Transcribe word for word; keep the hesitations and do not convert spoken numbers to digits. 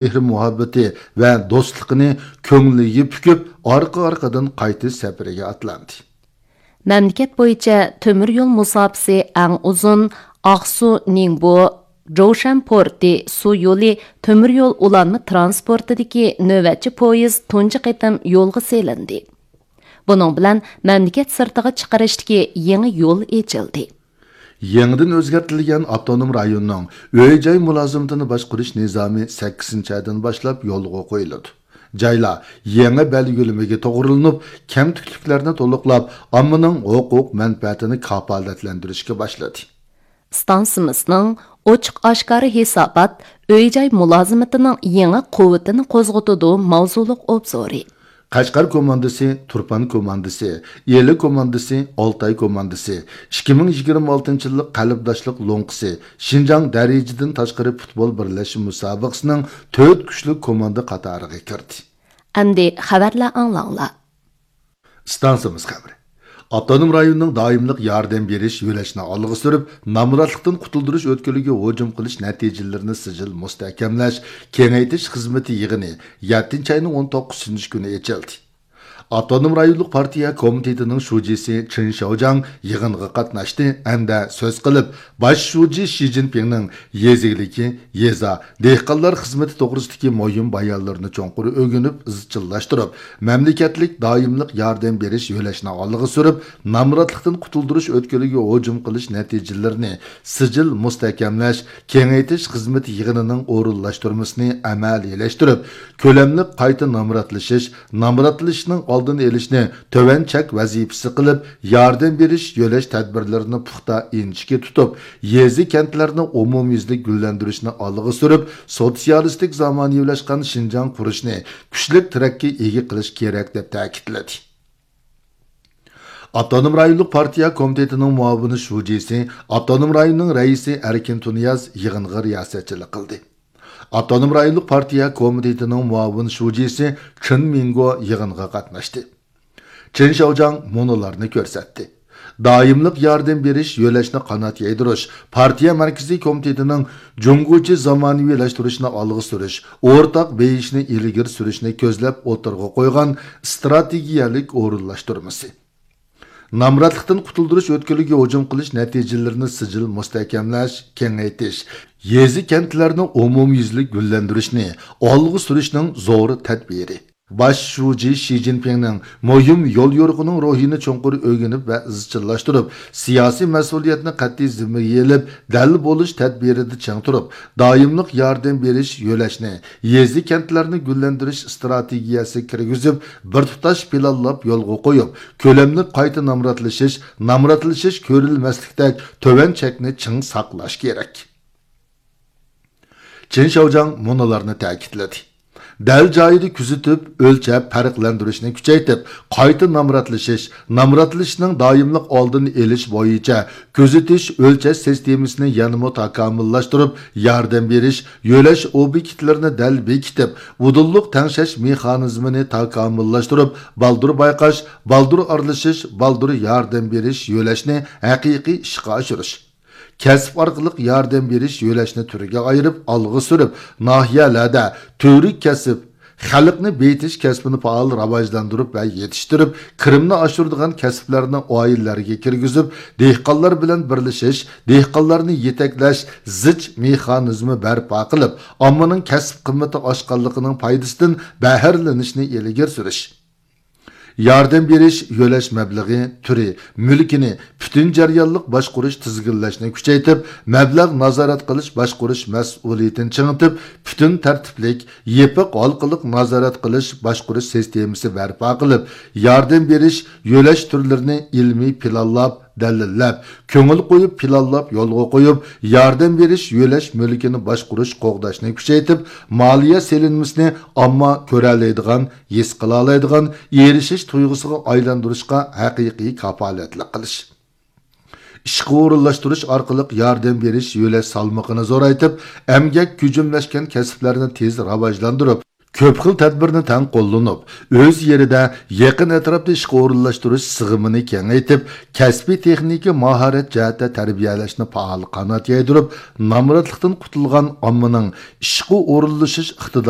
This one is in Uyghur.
مېھرى-مۇھەببىتى ۋە دوستلۇقىنى كۆڭلىگە پۈكۈپ، ئارقا-ئارقىدىن قايتىش سەپىرىگە ئاتلاندى. مەملىكەت بويىچە تۆمۈر يول مۇساپىسى ئەڭ ئۇزۇن ئاقسۇ نىڭبو جوشەن پورتى سۇ يولى تۆمۈر يول ئۇلانما تىرانسپورتىدىكى نۆۋەتچى پويىز تۇنجى قېتىم يولغا سېلىندى. بۇنىڭ بىلەن مەملىكەت سىرتىغا چىقىرىشتىكى يېڭى يول ئېچىلدى. يېڭىدىن ئۆزگەرتىلگەن ئاپتونوم رايوننىڭ ئۆي-جاي مۇلازىمىتىنى باشقۇرۇش نىزامى سەككىزىنچى ئايدىن باشلاپ يولغا قويۇلىدۇ. جايلار يېڭى بەلگىلىمىگە توغرىلىنىپ، كەمتۈكلۈكلەرنى تولۇقلاپ، ئاممىنىڭ ھوقۇق مەنپەئەتىنى كاپالەتلەندۈرۈشكە باشلىدى. ئىستانسىمىزنىڭ ئوچۇق-ئاشكارا ھېسابات ئۆي-جاي مۇلازىمىتىنىڭ يېڭى قۇۋۋىتىنى قوزغىتىدۇ ماۋزۇلۇق ئوبزورى. قەشقەر كوماندىسى، تۇرپان كوماندىسى، ئىلى كوماندىسى، ئالتاي كوماندىسى، ئىككى مىڭ يىگىرمە ئالتىنچى يىللىق قەلبداشلىق لوڭقىسى، شىنجاڭ دەرىجىدىن تاشقىرى پۇتبول بىرلەشمە مۇسابىقىسىنىڭ تۆت كۈچلۈك كوماندا قاتارىغا كىردى. ئەمدى خەۋەرلەر ئاڭلاڭلار. ئىستانسىمىز خەۋىرى. ئاپتونوم رايوننىڭ دائىملىق ياردەم بېرىش يۆلەشنى ئالغا سۈرۈپ، نامراتلىقتىن قۇتۇلدۇرۇش ئۆتكىلىگە ھۇجۇم قىلىش نەتىجىلىرىنى سىجىل مۇستەھكەملەش كېڭەيتىش خىزمىتى يىغىنى يەتتىنچى ئاينىڭ ئون توققۇزىنچى كۈنى ئېچىلدى. ئاپتونوم رايونلۇق پارتىيە كومىتېتىنىڭ شۇجىسى چېن شياۋجياڭ يىغىنغا قاتناشتى ھەمدە سۆز قىلىپ، باش شۇجى شى جىنپىڭنىڭ يېزا ئىگىلىكى، يېزا، دېھقانلار خىزمىتى توغرىسىدىكى مۇھىم بايانلىرىنى چوڭقۇر ئۆگىنىپ، ئىزچىللاشتۇرۇپ، مەملىكەتلىك دائىملىق ياردەم بېرىش يۆلەشنى ئالغا سۈرۈپ، نامراتلىقتىن قۇتۇلدۇرۇش ئۆتكىلىگە ھۇجۇم قىلىش نەتىجىلىرىنى سىجىل مۇستەھكەملەش، كېڭەيتىش خىزمىتى يىغىنىنىڭ ئورۇنلاشتۇرمىسىنى ئەمەلىيلەشتۈرۈپ، كۆلەملىك قايتا نامراتلىشىش، نامراتلىشىشنىڭ ئالدىنى ئېلىشنى تۆۋەن چەك ۋەزىپىسى قىلىپ، ياردەم بېرىش، يۆلەش تەدبىرلىرىنى پۇختا ئىنچىكە تۇتۇپ، يېزا، كەنتلەرنى ئومۇميۈزلۈك گۈللەندۈرۈشنى ئالغا سۈرۈپ، سوتسىيالىستىك زامانىۋىلاشقان شىنجاڭ قۇرۇشنى كۈچلۈك تىرەككە ئىگە قىلىش كېرەك، دەپ تەكىتلىدى. ئاپتونوم رايونلۇق پارتىيە كومىتېتىنىڭ مۇئاۋىن شۇجىسى، ئاپتونوم رايوننىڭ رەئىسى ئەركىن تۇنىياز يىغىنغا رىياسەتچىلىك قىلدى. ئاپتونوم رايونلۇق پارتىيە كومىتېتىنىڭ مۇئاۋىن شۇجىسى چېن مىڭگو يىغىنغا قاتناشتى. چېن شياۋجياڭ مۇنۇلارنى كۆرسەتتى. دائىملىق ياردەم بېرىش، يۆلەشنى قانات يايدۇرۇش، پارتىيە مەركىزىي كومىتېتىنىڭ جۇڭگوچە زامانىۋىلاشتۇرۇشنى ئالغا سۈرۈش، ئورتاق بېيىشنى ئىلگىرى سۈرۈشنى كۆزلەپ ئوتتۇرىغا قويغان ئىستراتېگىيەلىك ئورۇنلاشتۇرمىسى. نامراتلىقتىن قۇتۇلدۇرۇش ئۆتكىلىگە ھۇجۇم قىلىش نەتىجىلىرىنى سىجىل مۇستەھكەملەش، كېڭەيتىش، يېزا، كەنتلەرنى ئومۇميۈزلۈك گۈللەندۈرۈشنى ئالغا سۈرۈشنىڭ زور تەدبىرى. باش شۇجى شى جىنپىڭنىڭ مۇھىم يوليورۇقىنىڭ روھىنى چوڭقۇر ئۆگىنىپ ۋە ئىزچىللاشتۇرۇپ، سىياسىي مەسئۇلىيەتنى قەتئىي زىممىگە ئېلىپ، دەل بولۇش تەدبىرىدە چىڭ تۇرۇپ، دائىملىق ياردەم بېرىش يۆلەشنى، يېزا، كەنتلەرنى گۈللەندۈرۈش ئىستراتېگىيەسىگە كىرگۈزۈپ، بىر تۇتاش پىلانلاپ يولغا قويۇپ، كۆلەملىك قايتا نامراتلىشىش، نامراتلىشىش كۆرۈلمەسلىكتەك تۆۋەن چەكنى چىڭ ساقلاش كېرەك. چېن شياۋجياڭ مۇنۇلارنى تەكىتلىدى. دەل جايىدا كۆزىتىپ، ئۆلچەپ، پەرقلەندۈرۈشنى كۈچەيتىپ، قايتا نامراتلىشىش، نامراتلىشىشنىڭ دائىملىق ئالدىنى ئېلىش بويىچە كۆزىتىش، ئۆلچەش سىستېمىسىنى يەنىمۇ تاكامۇللاشتۇرۇپ، ياردەم بېرىش، يۆلەش ئوبيېكتلىرىنى دەل بېكىتىپ، ئۇدۇللۇق تەڭشەش مېخانىزمىنى تاكامۇللاشتۇرۇپ، بالدۇر بايقاش، بالدۇر ئارىلىشىش، بالدۇر ياردەم بېرىش يۆلەشنى ھەقىقىي ئىشقا ئاشۇرۇش. كەسىپ ئارقىلىق ياردەم بېرىش يۆلەشنى تۈرگە ئايرىپ، ئالغا سۈرۈپ، ناھىيەلەردە تۈۋرۈك كەسىپ، خەلقنى بېيىتىش كەسپىنى پائال راۋاجلاندۇرۇپ ۋە يېتىشتۈرۈپ، كىرىمنى ئاشۇرىدىغان كەسىپلەرنى ئائىلىلەرگە كىرگۈزۈپ، دېھقانلار بىلەن بىرلىشىش، دېھقانلارنى يېتەكلەش زىچ مېخانىزمى بەرپا قىلىپ، ئاممىنىڭ كەسىپ قىممىتى ئاشقانلىقىنىڭ پايدىسىدىن بەھرىلىنىشنى ئىلگىرى سۈرۈش. ياردەم بېرىش، يۆلەش مەبلىغى، تۈرى، مۈلكىنى پۈتۈن جەريانلىق باشقۇرۇش، تىزگىنلەشنى كۈچەيتىپ، مەبلەغ نازارەت قىلىش، باشقۇرۇش مەسئۇلىيىتىنى چىڭىتىپ، پۈتۈن تەرتىپلىك، يېپىق ھالقىلىق نازارەت قىلىش، باشقۇرۇش سىستېمىسى بەرپا قىلىپ، ياردەم بېرىش، يۆلەش تۈرلىرىنى ئىلمىي پىلانلاپ، دەلىللەپ، كۆڭۈل قويۇپ پىلانلاپ يولغا قويۇپ، ياردەم بېرىش، يۆلەش مۈلكىنى باشقۇرۇش، قوغداشنى كۈچەيتىپ، مالىيە سېلىنمىسىنى ئامما كۆرەلەيدىغان، ھېس قىلالايدىغان، ئېرىشىش تۇيغۇسىغا ئايلاندۇرۇشقا ھەقىقىي كاپالەتلىك قىلىش. ئىشقا ئورۇنلاشتۇرۇش ئارقىلىق ياردەم بېرىش يۆلەش سالمىقىنى زورايتىپ، ئەمگەك كۈجۈملەشكەن كەسىپلەرنى تېز راۋاجلاندۇرۇپ، كۆپ خىل تەدبىرنى تەڭ قوللىنىپ، ئۆز يېرىدە يېقىن ئەتراپتا ئىشقا ئورۇنلاشتۇرۇش سىغىمىنى كېڭەيتىپ، كەسپىي تېخنىكا ماھارەت جەھەتتە تەربىيەلەشنى پائال قانات يايدۇرۇپ، نامراتلىقتىن قۇتۇلغان ئاممىنىڭ ئىشقا ئورۇنلىشىش ئىقتىدارى